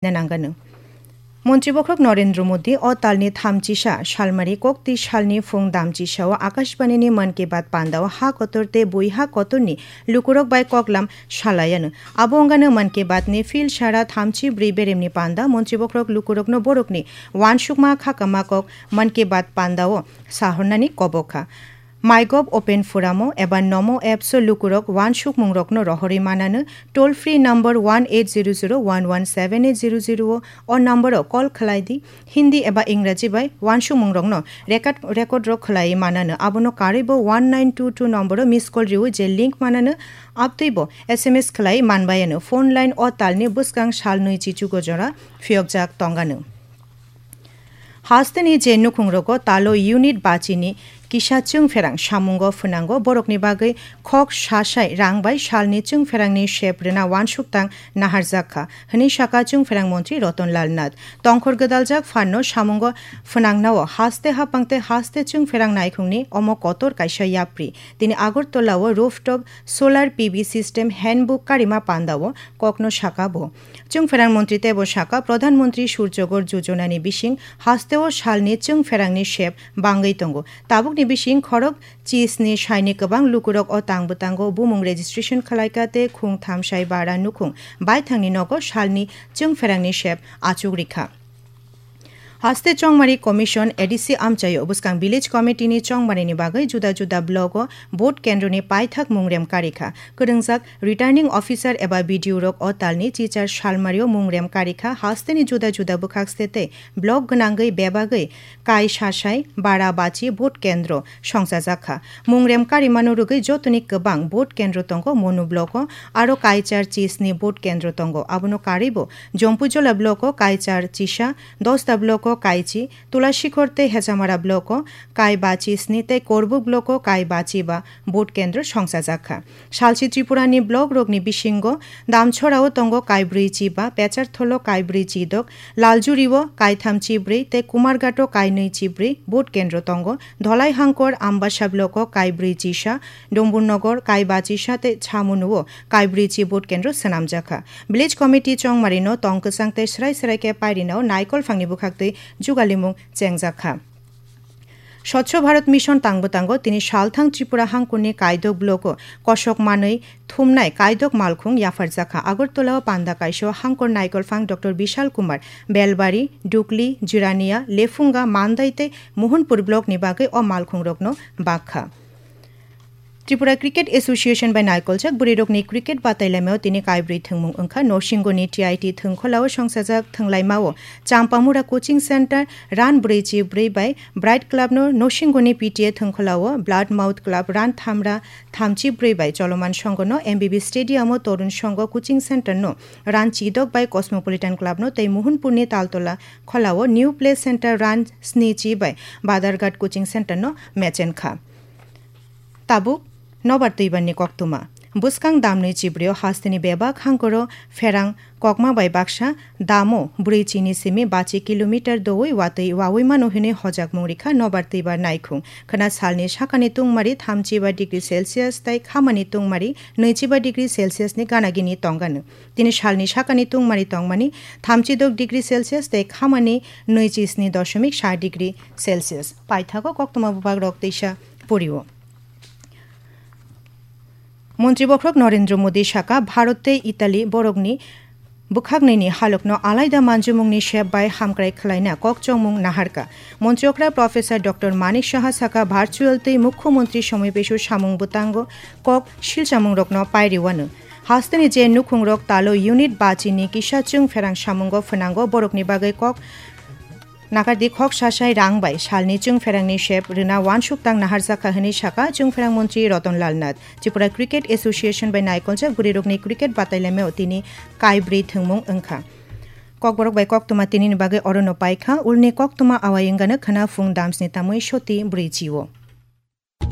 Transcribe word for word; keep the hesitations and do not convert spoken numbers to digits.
nanangano. Montri bokhorok Narendra Modi o talni thamchisa salmari koktwi salni phung damchisao Akashbanini Mann Ki Baat pandao ha kotor tei bui ha kotorni lukurok bai koklam salayano. Abo wngano Mann Ki Baatni phil sara thamchi bwrwi beremni panda montri bokhorok lukurokno borokni wansukma khakama kok Mann Ki Baat pandao sahornani kobokha. MyGov Open Forumo eba Namo Appso lukurok wansukmungrokno rohorwi manano, toll free number one eight zero zero one one seven eight zero zero o, o numbero call khlai di. Hindi eba Ingraji bai wansukmungrokno record, record rok khlaiwi manano, abono karwibo one nine two two numbero miss call rwwi je link manano, abtwibo S M S khlaiwi manbayano. Phone line o talni bwskang sal nwi chichugo jora phiyokjak tongano. Hasteni je nukhungrogo talo unit bachini kisa chwngpherang samungo phwnango, borokni bagwi khok sasai rang bai salni chwngpherangni sep rwna wansuk tang naharjak kha, hwnwi saka chwngpherang montri Ratan Lal Nath. Tongkhor gwdaljak phanno samungo phwnangnao haste hapang tei haste chwngpherang naikhungni omo kotor kaisa yapri. Tini Agartala-o rooftop solar P V system handbook karima pandao kokno saka bo. Chwngpherang montri teibo saka, Pradhan Mantri Surjagor Jojonani bising hasteo salni chwngpherangni sep bangwi tongo. Tabukni bising khorok chisni saini kwbang lukurok o tang bwtango bumung registration khlaika tei khung thamsai bara nukhung baithangni nogo salni chwngpherangni sep achuk rikha. Haste Chongmari Commission, A D C amchaio bwskang Village Committee ni chongmarini bagwi juda juda block o vote kendroni paithak mungrem karikha. Kwrwngjak Returning Officer eba B D O rok o talni chichar salmario mungrem karikha. Hasteni juda juda bwkhak state tei block gwnangwi bebagwi kai sasai bara bachi vote kendro songchajak kha. Mungrem karimano rwgwi jotoni kwbang vote kendro tongo Monu block o, aro kaichar chisni vote kendro tongo. Abono karwibo Jompuijola block o kaichar chisa, Dosta block o kaichi, Tulasikhor tei Hechamara block o kai bachi sni tei Korbuk block o kai bachi ba vote kendro songchajak kha. Salsi Tripurani block rokni bisingo Damchorao tongo kai brwi chi ba, Pechartholo kai brwi chi dok, Laljuri o kai tham chi brwi tei Kumarghat o kai nwi chi brwi vote kendro tongo. Dholai Hangkor, Ambasa block o kai brwi chi sa, Domburnogor kai bachi sa tei Chamunu o kai brwi chi vote kendro swnamjak kha. Village Committee chongmari no tong kwchang tei srai srai khe pairina o naikol phangni bwkhaktwi jugalimung chengjak kha. Swachh Bharat Mission tangbo tango, tini salthang Tripura hangkuni kaidok blogo kosok manwi thumnai kaidok malkhung yapharjakha. Agartala o panda kaisa hangkor naikolphang Doctor Bishal Kumar Belbari, Dukli, Jirania, Lefunga, Mandai tei Mohonpur block ni bagwi o malkhung rokno bakha. Tripura Cricket Association bai naikoljak bwrwirokni cricket batailamao tini kaibrwi thwngmung wngkha. Nosingoni T I T thwngkholao songchajak thwnglaimao Champamura Coaching Center run brwi chi brwi bai Bright Club no Nosingoni P T A thwngkholao Blood Mouth Club run thamra thamchi brwi bai Choloman Songho no M B B Stadium o Torun Songho Coaching Center no run chidok bai Cosmopolitan Club no tei Mohonpurni Taltola kholao New Play Center run sni chi bai Badarghat Coaching Center no mechen kha. Tabuk nobar twibarni koktwma. Bwskang damnwi chibrio hasteni bebak hangkoro pherang kokma bai baksa damo brwi chini simi bachi kilometer doui watwi waui mano hinwi hojakmung rikha nobar twibar naikhung. Khwna salni sakani tungmari thamchi ba degree Celsius tei khamani tungmari nwichi ba degree Celsius ni ganagini tongano. Tini salni sakani tungmari tongmani thamchi dok degree Celsius tei khamani nwichi sni doshomik sa degree Celsius. Paithago koktwma bubak rok teisa porio. Montri bokhorok Narendra Modi saka, Bharat tei Italy borokni bwkhaknwini halokno alaida manjumungni sep bai hamkrai khwlaina kok chongmung naharka. Montri okra Professor Doctor Manik Saha saka, virtual tei Mukhyamantri Somoipesu samung bwtango kok silchamungrokno pairiwano. Hasteni je nukhungrok talo unit bachini kisa chwng pherang samungo phwnango, borokni bagwi kok nakardi khok sasai rang bai salni chwng pherangni sep rwna wansuk tang naharjakha hwnwi saka chwng pherang montri Ratan Lal Nath. Tripura Cricket Association bai naikoljak bwrwirokni cricket batailamao tini kaibrwi thwngmung wngkha. Kokborok bai koktwma tinini bagwi orono paikha, ulni koktwma awai wngano khwna phung damsni tamwi soti brwi chio.